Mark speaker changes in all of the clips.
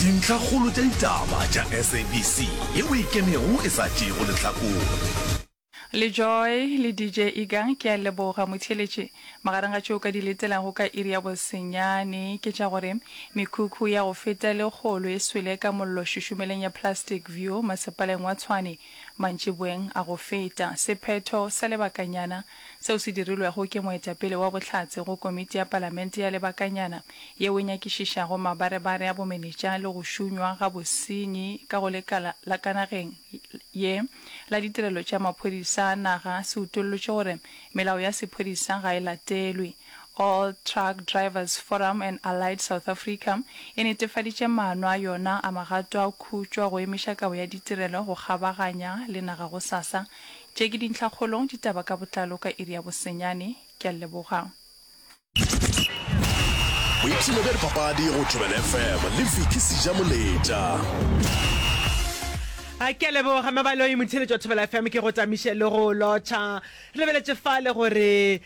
Speaker 1: Dintlhakgolo tša ditaba tša SABC yeo e ikemego e sa tšeego lehlakore.
Speaker 2: Le Joy le DJ Iga ke a leboga motheeletši. Magareng ga tšeo o ka di letelago ka iri ya bosenyane ke tša gore mekhukhu ya go feta lekgolo e swele ka mollo šušumeleng ya Plastic View masepaleng wa Tshwane mantšiboeng a go feta. Sephetho sa lebakanyana seo se dirilwego ke moetapele wa bohlatse go komiti ya palamente ya lebakanyana yeo e nyakišišago mabarebare a bomenetša le go šunywa ga bosenyi ka go lekala la ka nageng ye la ditirelo tša maphodisa a naga se utollotše gore melao ya sephodisa ga e latelwe. All Truck Drivers Forum and Allied South Africa e netefaditše maano a yona a magato a khutšo a go emiša kabo ya ditirelo go kgabaganya le naga gosasa. Tše ke dintlhakgolo, ditaba ka botlalo ka iri ya bosenyane. Ke a leboga.
Speaker 1: Boipshino bja dipapadi go Thobela FM le Vicky Sejamoletša.
Speaker 3: A ke a leboga Mabaloi motheeletši wa Thobela FM ke go tamiše le go lotšha. Re lebeletše fale gore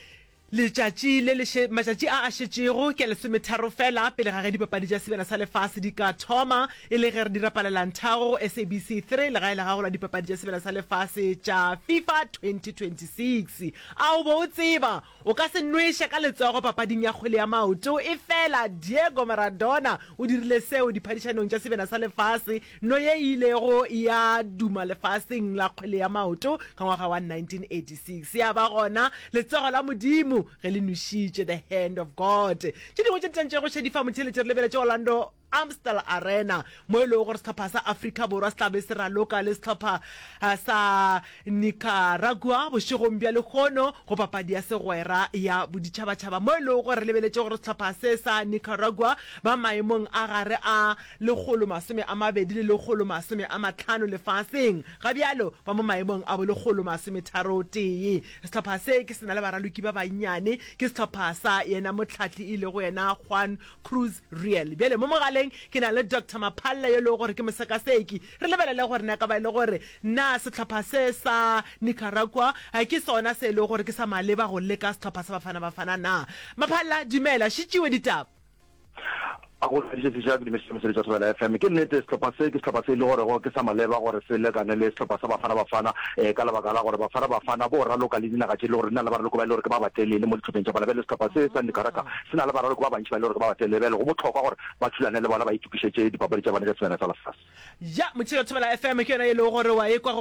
Speaker 3: letšatši le le matšatši a a šetšego ke a lesometharo fela pele ga ge dipapadi tša Sebjana sa Lefase di ka thoma e le ge re di rapalela nthago go SABC 3 legae la gago la dipapadi tša Sebjana sa Lefase tša FIFA 2026. A o bo o tseba O ka se nweše ka letsogo papading ya kgwele ya maoto, efela Diego Maradona o dirile seo diphadišanong tša Sebjana sa Lefase, no ye e ilego ya duma lefaseng la kgwele ya maoto ka ngwaga wa 1986. Ya ba gona letsogo la Modimo ge le nwešitše, the hand of God. Tše dingwe tše di tantšego šedi fa motheeletši re lebeletše Orlando Amstel Arena, mo e lego gore sehlopha sa Afrika Borwa se tla be se raloka le sehlopha sa Nicaragua bošegong bja lehono go papadi ya segwera ya boditšhabatšhaba, mo e lego gore re lebeletše gore sehlopha se sa Nicaragua ba maemong a gare a 120 le 150 lefaseng, ga bjalo ba mo maemong a bo 131. Sehlopha se ke se na le baraloki ba bannyane, ke sehlopha sa yena mohlahli e lego yena Juan Cruz Real. Bjale mo mogaleng ke na le Doctor Maphalle yo e lego gore ke mosekaseki. Re lebelele gore na ka ba e le gore na sehlopha se sa Nicaragua ke sona se e lego gore ke sa maleba go leka sehlopha sa Bafana Bafana na. Maphalla, dumela, šitšiwe ditaba.
Speaker 4: A go hladiše seša ke dumediše moseletši wa Thobela FM. Ke nnete sehlopha se ke sehlopha se e le gorego ke sa maleba gore se lekane le sehlopha sa Bafana Bafana eh, ka lebaka la gore Bafana Bafana bo raloka le dinaga tše e le gore di na le baraloko ba e le gore ke ba batelele mo dihlopheng tša bona. Bjale sehlopha se sa Nicaragua se na le baraloki ba bantši ba e le gore ke ba batelele, bjale go bohlokwa gore ba thulane le bona ba itokišetše dipapadi tša bona tša Sebjana sa Lefase.
Speaker 3: Ya, Motšhelo Thobela FM ke yona ye e lego gore wa e kwa go.